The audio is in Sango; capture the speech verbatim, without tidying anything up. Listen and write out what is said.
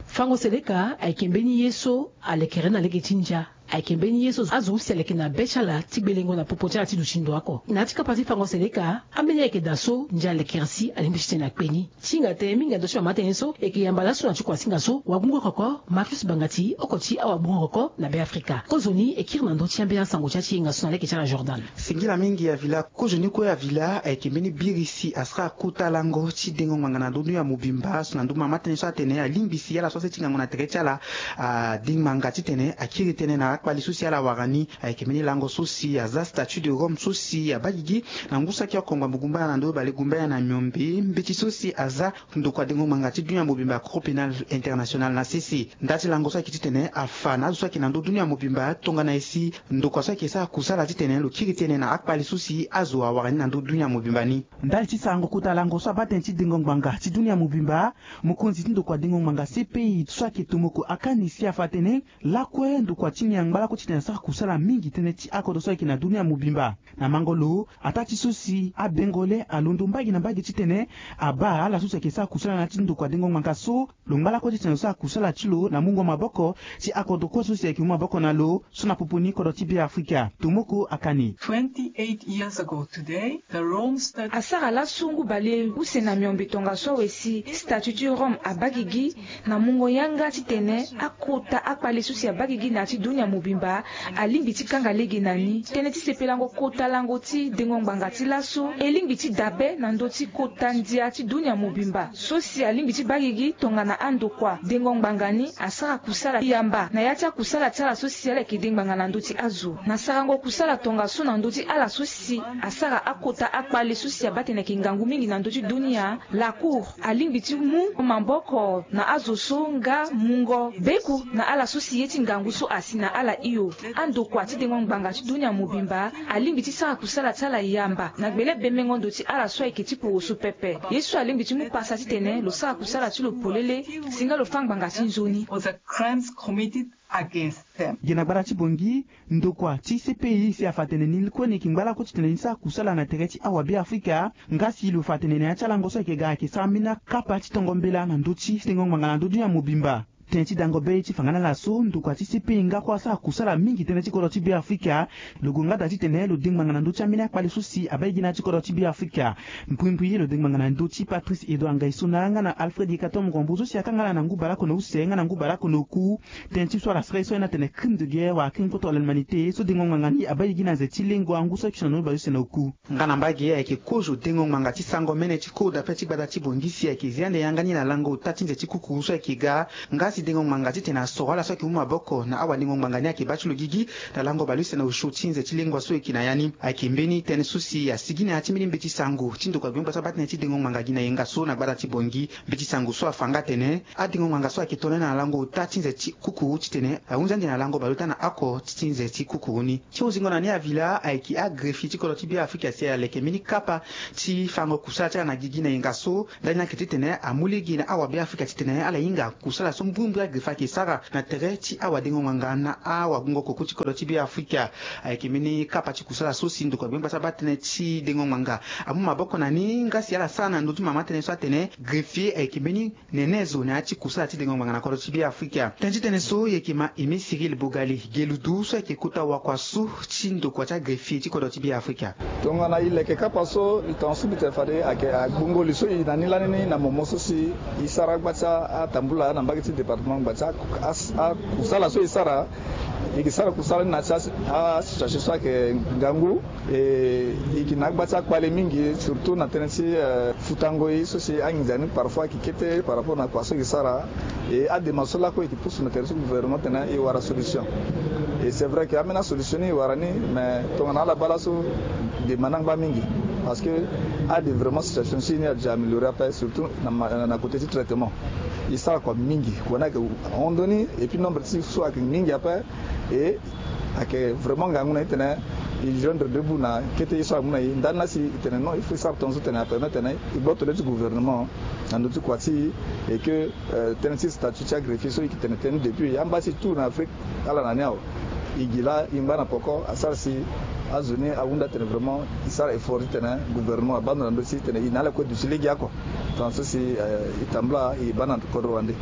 Fango seleka ayeke mbeni ye so alekere na lege ti ndia. Ayeke mbeni ye so azo use aleke na be ti ala ti gbelengo na popo ti ala ti duti ndo oko. Na ya ti kapa ti fango seleka, ambeni ayeke daa so ndia alekere si alingbi ti tene akpe ni. Ti hinga tënë mingi na ndö ti mama tënë so eke yamba laso na ti kuasinga so wagbongo koko Marcus Bangati oko ti awagbongo koko na Be Afrika. Kozoni e kiri na ndö ti ambeni asango ti ya ti yenga so na lege ti ala Jordan. Singila mingi Avila. Kozoni kue Avila ayeke mbeni biri si asara kota lango ti dengo ngbanga na ndö dunia mobimba so na ndö mama tënë so atene alingbi si ala so ase ti ngangu na tere ti ala ade ngbanga titene akiri tënë na akpali so si ala wara ni. Ayeke mbeni lango so si aza statut de Rome so si abaa gigi na ngu saki oko ngbambu gumbana na ndo bale gumbana na miombe mbeti so si aza ndokua dengo ngbanga ti dunia mobimba Cour pénale internationale na sese. Nda ti lango so ayeke titene afa na azo so ayeke na ndö dunia mobimba tongana e si ndokua so ayeke sara kusala titene lo kiri tënë na akpali so si azo awara ni na ndö dunia mobimba ni. Ndali ti sarango kota lango so abaa tënë ti dengo ngbanga ti dunia mobimba, mokonzi ti ndokua dengo ngbanga C P I so ayeke Tomoko Akani si afa atene lakue ndokua ti ni angba lakue titene asara kusala mingi tënë ti akodro so ayeke na dunia mobimba. Na mango lo, ataa ti so si abengo le alondo mbage na mbage titene abaa ala so si ayeke sara kusala na ya ti ndokua dengo ngbanga so lo ngba lakue titene lo sara kusala ti lo na mungo maboko ti akodro kue so si ayeke mu maboko na lo so na popo ni kodro ti Be Afrika. Tomoko Akani. Twenty-eight years ago today, the Rome Statute. Asara laso ngu bale use na miombe tongaso awe si statut ti Rome abaa gigi na mungo yanga titene akota akpale so si abaa gigi na ya ti dunia mobimba alingbi ti kanga lege na ni. Tënë ti sepelango kota lango ti dengo ngbanga ti laso e lingbi ti dabe na ndö ti kota ndia ti dunia mobimba so si alingbi ti baa gigi tongana andokua dengo ngbanga ni asara kusala yamba na ya ti akusala ti ala so si ala yeke de ngbanga na ndö ti azo. Na sarango kusala tongaso na ndö ti ala so si asara akota akpale so si abaa tene ayeke ngangu mingi na ndö ti dunia, la Cour alingbi ti mu maboko na azo so nga mungo beku na ala so si ye ti ngangu so asi na ala hio. Andokua ti dengo ngbanga ti dunia mobimba alingbi ti sara kusala ti ala yamba na gbele bemengo ndo ti ala so ayeke ti poroso pepe. Ye so alingbi ti mu pasa titene lo sara kusala ti lo polele si nga lo fâ ngbanga ti nzoni. For the crimes committed against them. Gi na gbata ti Bangui, ndokua ti C P I si afa atene ni kue ni yeke ngba lakue titene ni sara kusala na tere ti awabe Afrika. Nga si lo fa atene na ya ti alango so ayeke ga ayeke sara mbeni akapa ti tongo mbela na ndö ti dengo ngbanga na ndö ti dunia mobimba. Tënë ti dango be ti fa nga na ala so ndokua ti C P I nga kue asara kusala mingi tënë ti kodro ti Be Afrika. Lo gue nga daa titene lo de ngbanga na ndö ti ambeni akpale so si abaa gigi na ya ti kodro ti Be Afrika. Mbrimbri lo de ngbanga na ndö ti Patrice Edouard Ngaïssona nga na Alfred Yekatom Rambo so si akanga ala na ngu baleoko na use nga na ngu baleoko na oku. Tënë ti so ala sara ye so ayeke na atene crime de guerre wala crime contre l'humanité so dengo ngbanga ni abaa gigi na nze ti lengo angu so ayeke na ndoni baleuse na oku. Nga na mbage ayeke kozo dengo ngbanga ti sango mene ti code d'appel ti gbata ti Bangui si ayeke zia ande yanga ni na lango ota ti nze ti kukuru so ayeke ga. Nga si dengo ngbanga titene asoro ala so ayeke mu maboko na awadengo ngbanga ni ayeke baa ti lo gigi na lango baleuse na osio ti nze ti lengua so e yeke na ya ni. Ayeke mbeni tënë so si asigi na ya ti mbeni mbeti sango ti ndokua gbengba so abaa tënë ti dengo ngbanga gi na yenga so na gbata ti Bangui. Mbeti sango so afa nga atene adengo ngbanga so ayeke tongana na lango ota ti nze ti kukuru titene ahunzi ande na lango baleota na oko ti nze ti kukuru ni. Ti hunzingo na ni Avila ayeke agreffier ti kodro ti Be Afrika si aleke mbeni kapa ti fango kusala ti ala na gigi na yenga so. Ndali ni ayeke titene amu lege na awabe Afrika titene ala hinga kusala so mbrimbri agreffier ayeke sara na tere ti awadengo ngbanga na awagbongo koko ti kodro ti Be Afrika. Ayeke mbeni kapa ti kusala so si ndokua gbengba so abaa tënë ti dengo ngbanga amu maboko na ni nga si ala sara na ndö ti mama tënë so atene greffier ayeke mbeni nene zo na ya ti kusala ti dengo ngbanga na kodro ti Be Afrika. Tënë ti tënë so e yeke ma Aimé Cyril Bogalé, geludu so ayeke kota wakua so ti ndokua ti agreffier ti kodro ti Be Afrika. Tongana e leke kapa so e tongaso mbi tene fade ayeke agbongo li so e na ni lani ni na momo so si e sara gba ti atambula na mbage ti département gba ti a- a- a- kusala so e sara. E yeke sara kusala ni na ya ti a- asituation so ayeke ngangu. E, e yeke na agba ti akpale mingi, surtout na tënë ti, eh, futango ye so si anginza ni parfois ayeke kete par rapport na kua so e yeke sara. E adema so lakue e yeke pusu na tere ti gouvernement titene e wara solution. E c'est vrai que ambeni asolution ni e wara ni, mais tongana ala baa laso dema ni angba mingi. Parce que ade vraiment situation so e ni ade déjà amélioré ape, surtout na ma- na côté ti traitement. E sara kua mingi, kua ni ayeke hon ndoni, et puis nombre ti so ayeke mingi ape. E ayeke vraiment ngangu na e titene e joindre debout na kete ye so amu na e. Ndani laa si e tene non, il faut e sara tongaso titene apermettre titene e gboto le ti gouvernement na ndö ti kua ti e. Et que, euh, tënë ti statut ti agreffier so e yeke tene tënë ni depuis amba si tout na Afrique ala na ni awe. E gi laa e ngba na poko asara si azo ni ahunda titene vraiment e sara effort titene gouvernement abaa ndo na ndö ti titene e na ala kue duti legeoko. Tongaso si, euh, e tambula e baa na kodro wande.